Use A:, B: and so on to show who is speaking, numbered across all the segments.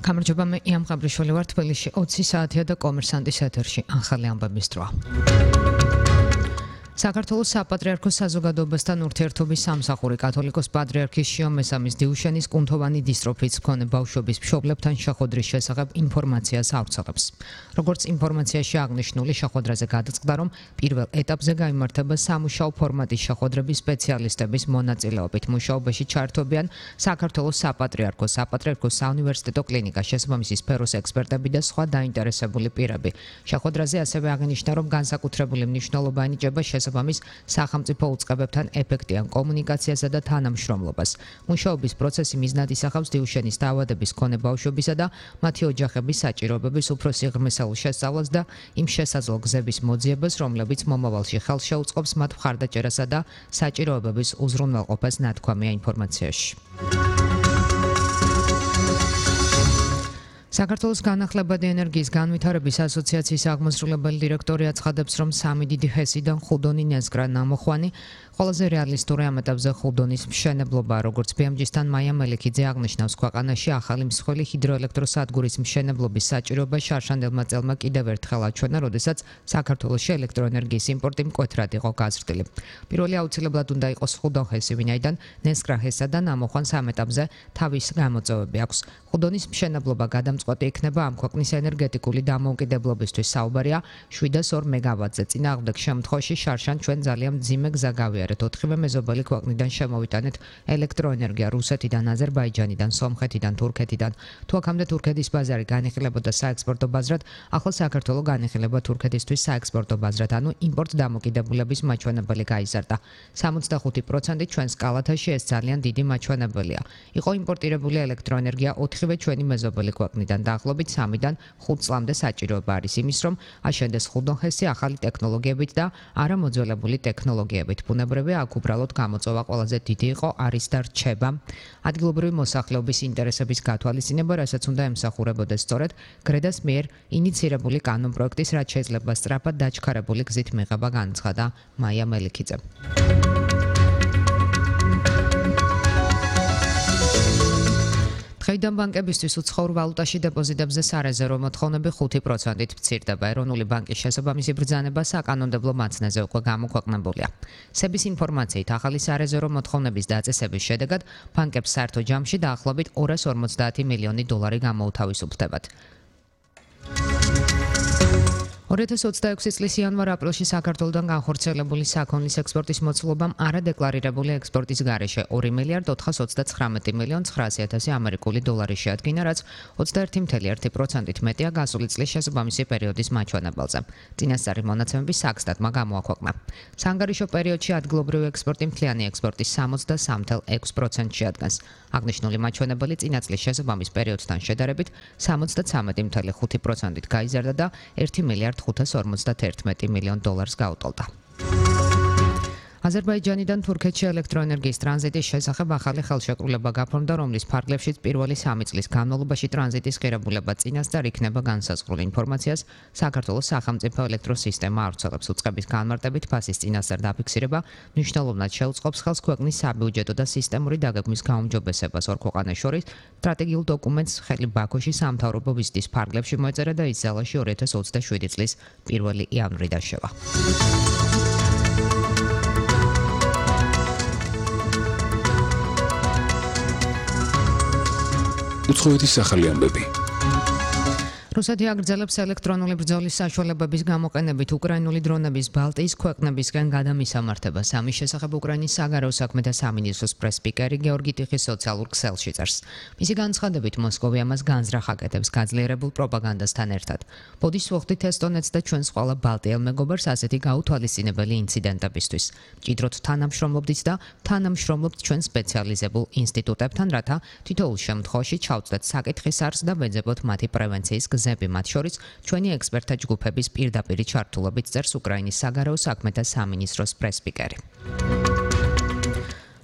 A: გამარჯობა, მე იამ ყაბრიშვილი ვარ, თბილისში 20 საათია და კომერსანტის ეთერში ახალი ამბების დროა. საქართველოს საპატრიარქოს საზოგადოებასთან ურთიერთობის სამსახური კათოლიკოს პატრიარქის შიო მესამის დიუშენის კუნთოვანი დისტროფიის მქონე ბავშვების მშობლებთან შეხვედრის შესახებ ინფორმაციას ავრცელებს. Როგორც ინფორმაციაში აღნიშნული, შეხვედრაზე გადაწყდა, რომ პირველ ეტაპზე გაიმართება სამუშაო ფორმატის შეხვედრების სპეციალისტების მონაწილეობით. მუშაობაში ჩართობიან საქართველოს საპატრიარქოს, საპატრიარქოს საუნივერსიტეტო კლინიკა, შესაბამისი სფეროს ექსპერტები და სხვა დაინტერესებული პირები. შეხვედრაზე ასევე აღინიშნა, რომ განსაკუთრებული მნიშვნელობა ენიჭება შესაბამის სახელმწიფო უწყებებთან ეფექტიან კომუნიკაციასა და თანამშრომლობას. მუშაობის პროცესი მიზნად ისახავს დიუშენის დაავადების მქონე ბავშვებისა და მათი ოჯახების საჭიროებების უფრო სიღრმისეულ შესწავლას და იმ შესაძლო გზების მოძიებას, რომლებიც მომავალში ხელს შეუწყობს მათ მხარდაჭერასა და საჭიროებების უზრუნველყოფას, ნათქვამია ინფორმაციაში. საქართველოს განახლებადი ენერგიის განვითარების ასოციაციის აღმასრულებელი დირექტორი აცხადებს, რომ სამი დიდი ჰესიდან ხუდონი ნეზგრა ნამოხვანი ყველაზე რეალისტური ამ ეტაპზე ხუდონის მშენებლობა, როგორც BMG-სთან მაია მელიქიძე აღნიშნავს, ქვეყანაში ახალი მსხვილი ჰიდროელექტროსადგურის მშენებლობის საჭიროება შარშანელმა წელმა კიდევ ერთხელ აჩვენა, როდესაც საქართველოში ელექტროენერგიის იმპორტი მკვეთრად იყო გაზრდილი. პირველი აუცილებლად უნდა იყოს ხუდონ ჰესი, ვინაიდან ნეზგრა ჰესა და ნამოხვანს ამ ეტაპზე თავის გამოწვევები აქვს. ხუდონის მშენებლობა გადამწყვეტი იქნება ამ ქვეყნის ენერგეტიკული დამოუკიდებლობისთვის. საუბარია 702 მეგავატზე. წინააღმდეგ შემთხვევაში შარშან ჩვენ ძალიან მძიმე გზა გავიარეთ. 4 მეზობელი ქვეყნიდან შემოვიტანეთ ელექტროენერგია რუსეთიდან, აზერბაიჯანიდან, სომხეთიდან, თურქეთიდან. თუ აქამდე თურქეთის ბაზარი განიხილებოდა საექსპორტო ბაზრად, ახლა საქართველო განიხილება თურქეთისთვის საექსპორტო ბაზრად, ანუ იმპორტ დამოკიდებულების მაჩვენებელი გაიზარდა. 65% ჩვენს კალათაში ეს ძალიან დიდი მაჩვენებელია. იყო იმპორტირებული ელექტროენერგია 4 ჩვენი მეზობელი ქვეყნიდან. დაახლოებით 3-დან 5 წლამდე საჭიროება არის იმის, რომ აშენდეს ხუდონ ჰესი ახალი ტექნოლოგიებით და არა მოძველებული ტექნოლოგიებით. ბუნებრივია, აქ უბრალოდ გამოწვევა ყველაზე დიდი იყო, არის და რჩება. ადგილობრივი მოსახლეობის ინტერესების გათვალისწინება, რასაც უნდა ემსახურებოდეს სწორედ გრედას მიერ ინიცირებული კანონპროექტის, რაც შეიძლება სწრაფად დაჩქარებული გზით მიღება, განცხადა მაია მელიქიძე. დღეიდან ბანკებისთვის უცხოურ ვალუტაში დეპოზიტებზე სარეზერვო მოთხოვნები 5%-ით მცირდება. ეროვნული ბანკის შესაბამისი ბრძანება საკანონმდებლო მაცნეზე უკვე გამოქვეყნებულია. სების ინფორმაციით, ახალი სარეზერვო მოთხოვნების დაწესების შედეგად ბანკებს საერთო ჯამში დაახლოებით 250 მილიონი დოლარი გამოუთავისუფლდებათ. 2026 წლის იანვარ-აპრილში საქართველოდან განხორციელებული საქონლის ექსპორტის მოცულობამ არადეკლარირებული ექსპორტის გარეშე 2 მილიარდ 419 მილიონ 900 ამერიკული დოლარი შეადგინა, რაც 21.1%-ით მეტია გასული წლის შესაბამისი პერიოდის მაჩვენებელზე. წინასწარი მონაცემები საქსტატმა გამოაქვეყნა. საანგარიშო პერიოდში ადგილობრივი ექსპორტი მთლიანი ექსპორტის 63.6% შეადგენს. აღნიშნული მაჩვენებელი წინა წლის შესაბამის პერიოდთან შედარებით 73.5%-ით გაიზარდა და 1 მილიარდ 551 მილიონ დოლარს გაუტოლდა. აზერბაიჯანიდან თურქეთში ელექტროენერგიის ტრანზიტის შესახებ ახალი ხელშეკრულება გაფორმდა, რომლის ფარგლებში პირველი 3 წლის განმავლობაში ტრანზიტის ღირებულება წინასწარ იქნება განსაზღვრული. ინფორმაციას საქართველოს სახელმწიფო ელექტროსისტემა ავრცელებს. უწყების განმარტებით ფასის წინასწარ დაფიქსირება მნიშვნელოვნად შეუწყობს ხელს ქვეყნის საბიუჯეტო და სისტემური დაგეგმვის გაუმჯობესებას. ორ ქვეყანას შორის სტრატეგიულ დოკუმენტს ხელი ბაქოში სამთავრობო ვიზიტის ფარგლებში მოეწერა და ის ძალაში 2027 წლის 1 იანვრიდან შევა.
B: უცხოეთის ახალი ამბები.
A: რუსეთი აგრძელებს ელექტრონული ბრძოლის საშუალებების გამოყენებით უკრაინული დრონების ბალტიის ქვეყნებისგან გადამისამართებას. ამის შესახებ უკრაინის საგარეო საქმეთა სამინისტროს პრეს-სპიკერი გეორგი ტიხის სოციალურ ქსელში წერს. მისი განცხადებით, მოსკოვი ამას განზრახ აკეთებს გაძლიერებულ პროპაგანდასთან ერთად. ბოდის ვუხდით ესტონეთს და ჩვენს ყველა ბალტიელ მეგობარს ასეთი გაუთვალისწინებელი ინციდენტებისთვის. მჭიდროდ თანამშრომლობდით და თანამშრომლობთ ჩვენ სპეციალიზებულ ინსტიტუტებთან, რათა თითოეულ შემთხვევაში ჩავწვდეთ საკითხის არსს და ვეძებოთ მათი პრევენციის გზები, მათ შორის ჩვენი ექსპერტთა ჯგუფების პირდაპირი ჩართულობით, წერს უკრაინის საგარეო საქმეთა სამინისტროს პრეს-სპიკერი.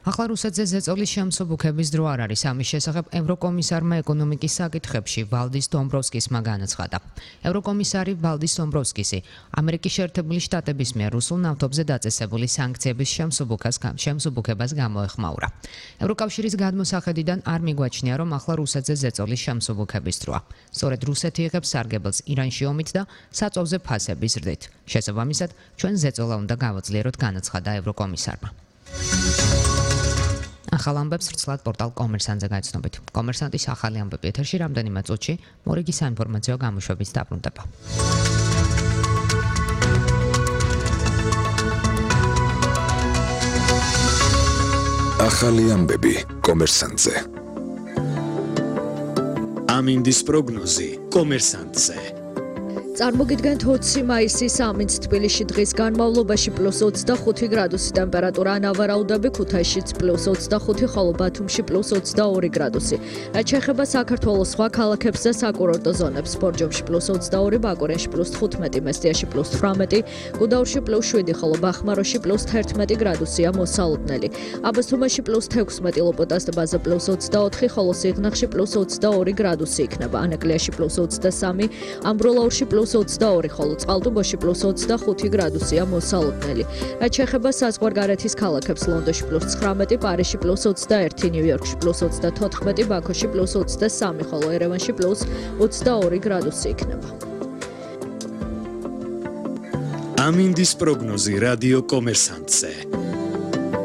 A: ახლა რუსეთზე ზეწოლის შემსუბუქების დრო არ არის. ამის შესახებ ევროკომისარმა ეკონომიკის საკითხებში ვალდის დომბროვსკისმა განაცხადა. ევროკომისარი ვალდის დომბროვსკისი ამერიკის შეერთებული შტატების მიერ რუსულ ნავთობზე დაწესებული სანქციების შემსუბუქებას გამოეხმაურა. ევროკავშირის გადმოსახედიდან არ მიგვაჩნია, რომ ახლა რუსეთზე ზეწოლის შემსუბუქების დროა. სწორედ რუსეთი იღებს სარგებელს ირანში ომით და საწვავზე ფასების ზრდით. შესაბამისად, ჩვენ ზეწოლა უნდა გავაძლიეროთ, განაცხადა ევროკომისარმა. ახალ ამბებს ვრცლად პორტალ კომერსანტზე გაიცნობით. კომერსანტის ახალი ამბები ეთერში რამდენიმე წუთში მორიგი საინფორმაციო გამოშვებით დაბრუნდება.
B: ახალი ამბები კომერსანტზე.
C: ამინდის პროგნოზი კომერსანტზე.
D: წარმოგიდგენთ 20 მაისის ამინდს თბილისში დღის განმავლობაში +25 გრადუსი ტემპერატურა, ნავარაუდები ქუთაისშიც +25, ხოლო ბათუმში +22 გრადუსი. რაც შეეხება საქართველოს სხვა ქალაქებს და საკურორტო ზონებს, ბორჯომში +22, ბაკურენში +15, მესტიაში +18, გუდაურში +7, ხოლო ბახმაროში +11 გრადუსია მოსალოდნელი. აბასთუმანში +16, ლოპოტას ტბაზე +24, ხოლო სიღნაღში +22 გრადუსი იქნება. ანაკლიაში +23, ამბროლაურში +22, ხოლო წყალტუბოში +25 გრადუსია მოსალოდნელი. რაც შეეხება საზღვარგარეთის ქალაქებს, ლონდონში +19, პარიზში +21, ნიუ-იორკში +34, ბაქოში +23, ხოლო ერევანში +22 გრადუსი იქნება.
C: ამინდის პროგნოზი რადიო კომერსანტზე.